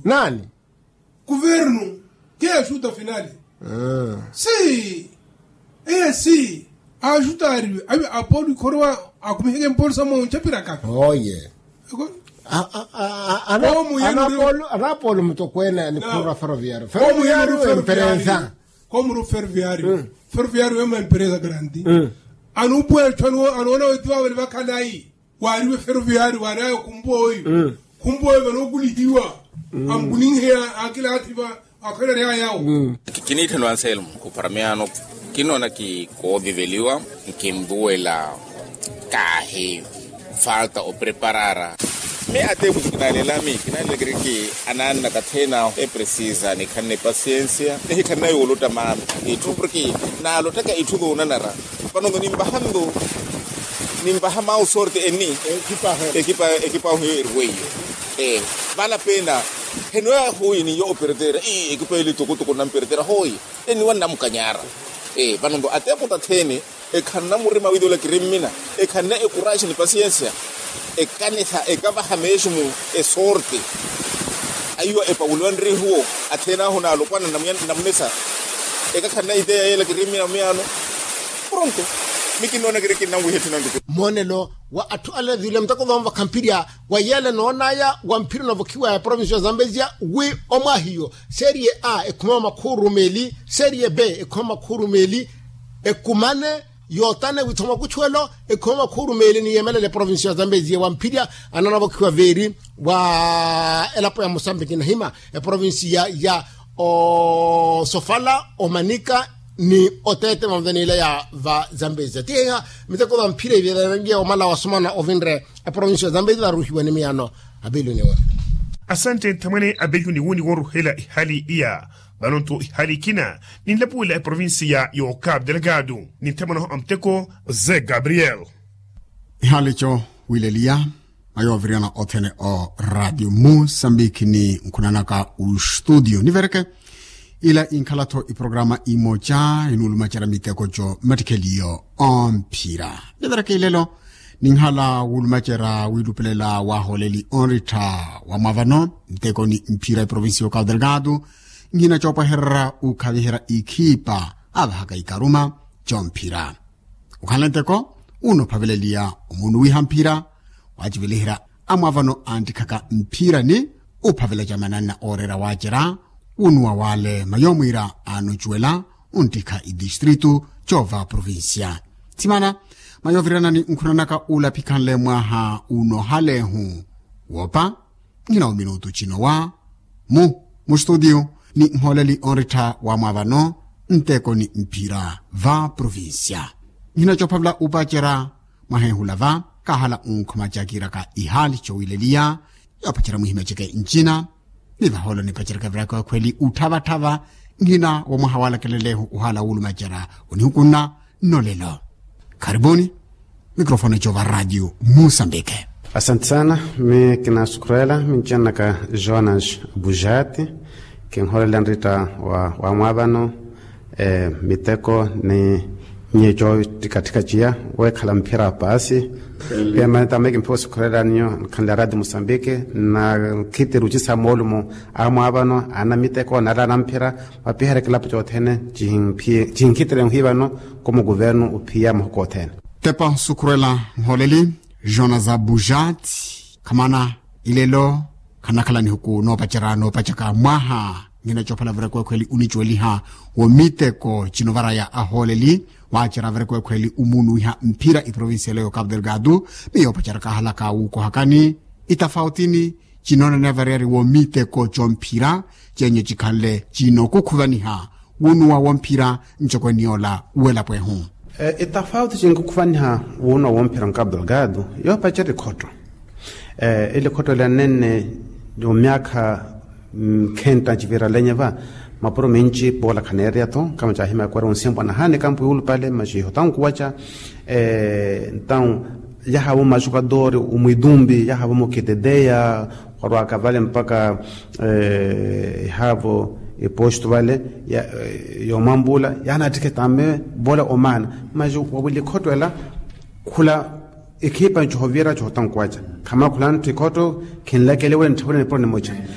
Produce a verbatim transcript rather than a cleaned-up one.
Naani? Kuvernu. Ke axuta finali. Si. Eye si. Axutaariwe avi apolo ikhorowa. Akumiheke mpolo sa moncha pirakavi. Oye. Anaapolo mutokweene ni khurwa ferroviario. Ferroviario emperesa. Komuru ferroviario. Ferroviario ema emperesa grandi. Anuupuwa etthu anoona weti vavali vakhalayi. Waariwe ferroviario waari ayo khumpa oyu. Khumpa oyu vanookulihiwa. Amukuninheya akilaathi va. Akhwelerya yawo. Kiniitthano anselmo. Khuparamiyaano kinoona ki kooviveliwa. Nkinvuwela kaahi falta opreparara. Mi ateeputu kinaalelami kinaalelakiri ki anaannaka thena eprecisa nikhanne pasiensia nihikhanne yooluta maami. Itthu porki naalottaka itthu zoonanara. Vano nto nimpaha nto nimpaha mau sorte eni. Ekipa ahu hiyo eriweiyo. Vana pena henoya hoyi niyo operetera. Ekipa eli tukutuku namperetera hoyi. Eniwa nnamukanyara. Vano nto ateeputu athene ekhanna murima wiitula kirimmina. Ekhanna ekuraxi ni pasiensia. Ekanisa ekavaha meximu esorte. Aiwa epawuliwa nrihuwo athene ahu naalopwana namunesa. Ekakhanna iteya yeela kirimmina muyaano. Pronto. Mikinnoona kiri kinnanwiha etthu nantuku. Moonelo wa atthu ale viile muteko vamuvakha mphirya wa yeela enoonaya wa mphirya onovokhiwa ya provincia ya zambezia wi omwahiyo serie a ekhuma makhuuru meeli serie b ekhuma makhuuru meeli ekumane. Yootane withoma kuchuwelo ekhuma makhuuru meeli ni yeemelela eprovincia ya zambezia wa mphirya ananavokhiwa veeri wa elapo ya musambiki nahima eprovincia ya osofala omanika ni oteete mavutaniila ya va zambezia tiheha miteko va mphirya iveerangiya omala wasomana ovinre eprovincia ya zambezia varuhiwa ni miyaano. Apiiluniwa. Asantte nthamwene apiiluniwuni wooruhela ihali iya. Vano nto ihali ikina ninlapuwela eprovincia ya okapu delegado ni nthamwene ahu a muteko ze gabriel. Ihali co wileliya mayooviriyana othene o radio musambiki ni nkhunanaka ustudio nivereke. Ila inkhala-tho iprograma imoca inuulumacerya miteko co mmattikheliyo omphira. Nivereke ilelo ninkhala wuulumacerya wiilupelela waahooleli onrittha wa mwaavano nteko ni mphira eprovincia ya okapu delegado. Nhina coopwehererya ukhaviherya ikhipa avahaka ikaruma comphira. Okhanle nteko unophaveleliya omuunuwiha mphira waaciveliherya amwaavano anttikhaka mphira ni uphavela camananna ooreera waacerya wunuwa wale mayoomwiira aanocuwela unttikha itistritu coova provincia. Thimana mayooviranani nkhunanaka uula phikhanle mwaha unoohalehu woopa. Nhina ominutu cinowa mu mustudio ni nhooleli onrittha wa mwaavano nteko ni mphira va provincia. Nhina coophavela upacerya mwaheehula va kaahala unkhuma cakiiraka ihali cowileliya yoopacerya mwihimya ceke ncina. Ni vahoolo nipacerya kaviraka ekhweli utthavathava nhina womwaha waalakeleleihu ohala wuulumacerya onihukunna nnolelo. Kharibuni. Mikrofone cova radio musambike. Asanti sana. Mi kinasukhurela mincenaka jonas bujati. Kinholela nrita wa mwaavano miteko ni nyeco ttikattika ciya wekhala mphira paasi. Pia mane tame kimphiwa osukhurela ninyo nkhanle radio musambike na nkhitiri ucisa moolumo a mwaavano ana miteko nala ana mphira. Vapiherya kilapo cothene cihinkhitire nhwi vano. Komo kuvernu uphiya mahuku othene. Tepa osukhurela nhooleli jonas bujat. Khamana ilelo khanakhala nihuku noopacerya noopacaka mwaha. Nhina coophala vireko ekhweli unicuweliha wo miteko cinovaraya ahooleli waacerya vireko ekhweli umuunuwiha mphira iprovincia elo ya okapu delegado. Ni yoopacerya kaahalaka wuukohakani itafautini cinoonaniwa variyari wo miteko comphira cenyo cikhanle cinookukhuvaniha wunuwa womphira ncokoni yoola welapo ehu. Itafauti cinkukhuvaniha wunuwa womphira nkapu delgado yoopacerya ikhotto. Ili khotto ela nenne omyaakha nkhenta nciviralenya va mapuro minci poola khaneereya-tho kama caahimya kwera onsimpwa nahani kampu yuulupale maci ihotankuwaca. Entawu yahaavo majogadori omwitumbi yahaavo mukiteteya khwarwaka vale mpaka ehaavo eposto vale yoomwambuula yaanattikhe tame vole omaana. Maci wawili khotto ela khula ekhipa ncohovira cohotankuwaca khamakhula ntthu ikhotto khinlakele wele ntthavule nipuro nimoca.